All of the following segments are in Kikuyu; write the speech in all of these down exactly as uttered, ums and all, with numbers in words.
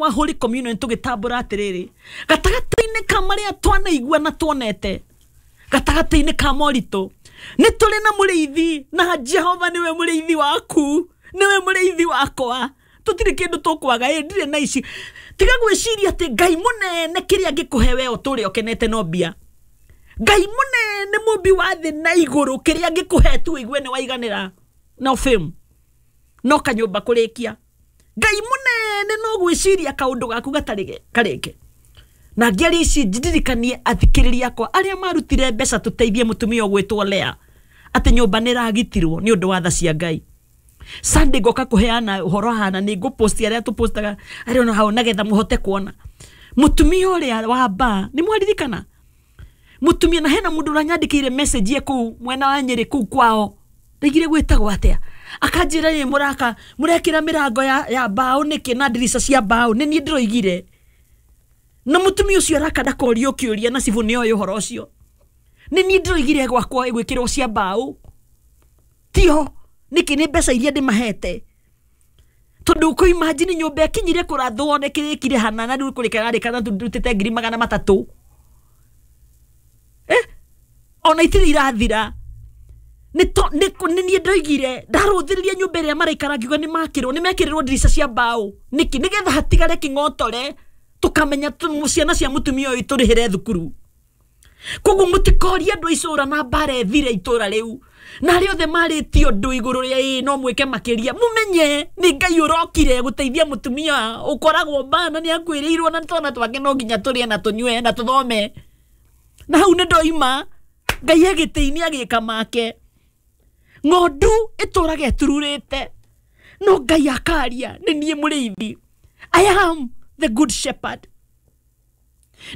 Wa Holy Communion tũgĩtambũra atĩrĩrĩ, gatagatĩ-inĩ ka marĩa twanaigua na tuonete, gatagatĩ-inĩ ka moritũ, nĩ tũrĩ na mũrĩithi, na Jehova nĩwe mũrĩithi waku, nĩwe mũrĩithi wakwa, tũtirĩ kĩndũ tũkwaga. Ĩ ndirĩ na ici, tiga gwĩciria atĩ Ngai mũnene kĩrĩa angĩkũhe we ũtũre ũkenete no mbia. Ngai mũnene mũmbi wa thĩ na igũrũ kĩrĩa angĩkũhe tu ũigue nĩ waiganĩra, no fame, no kanyũmba kũrĩkia. Ngai mũnene no gwĩciria kaũndũ gaku gatarĩ karĩke. Na ngĩaria ici ndirikanie athikĩrĩria akwa arĩa marutire mbeca tũteithie mũtumia ũgwĩtwo Lea atĩ nyũmba nĩ ĩragitirwo nĩ ũndũ wa tha cia Ngai. Sunday ngoka kũheana ũhoro hana, nĩ ngũposti arĩa tũpostaga arĩa ona hau nagetha mũhote kuona mũtumia ũrĩa wa mbaa. Nĩ mwaririkana mũtumia? Na hena mũndũ ũranyandĩkĩire message ye kũu mwena wa Nyĩrĩ kũu kwao, ndaigire gwĩtagwo atĩa, akanjĩra nĩ mũraka mũrekĩra mĩrango ya, ya mbaũ nĩkĩ na ndirica cia mbaũ. Nĩ niĩ ndĩroigire na mũtumia ũcio araka ndakorio kĩũria na cibũ nĩoĩ ũhoro ũcio. Nĩ niĩ ndĩroigire gwakwa ĩgwĩkĩrwo cia mbaũ, tio nĩkĩ? Nĩ mbeca iria ndĩmahete, tondũ kũ imagine nyũmba ĩkinyire kũrathwo nĩ kĩrĩkire hana na rĩu kũrĩka rarĩka na ndutĩte ngiri magana matatũ, eh ona itirĩ irathira. Nĩ to- nĩ nĩ niĩ ndoigire ndarũthĩrĩria nyũmba ĩrĩa maraikara, ngiuga nĩ makĩrwo, nĩ mekĩrĩrwo ndirica cia mbaũ nĩkĩ? Nĩgetha hatigare kĩng'otore, tũkamenya tu- ciana cia mũtumia ũyũ tũrĩhĩre thukuru. Koguo mũtikorie andũ a icũra na mbara ĩthire itũra rĩu na arĩa othe marĩtie ũndũ igũrũ rĩa ĩĩ no mwĩke makĩria, mũmenye nĩ Ngai ũrokire gũteithia mũtumia ũkoragwo mbana nĩ akuĩrĩirwo na twana twake no nginya tũrĩe na tũnyue na tũthome. Na hau nĩ ndoima Ngai e gĩtĩ-inĩ agĩka make. Ng'ondu ĩtũraga ĩtururĩte, no Ngai akaria, nĩ niĩ mũrĩithi, I am the good shepherd,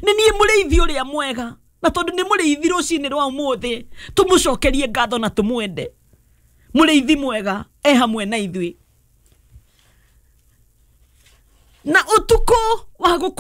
nĩ niĩ mũrĩithi ũrĩa mwega. Na tondũ nĩ mũrĩithi, rũcinĩ rwa ũmũthĩ tũmũcokerie ngatho na tũmwende. Mũrĩithi mwega e hamwe na ithuĩ na ũtukũ wa gũkũ.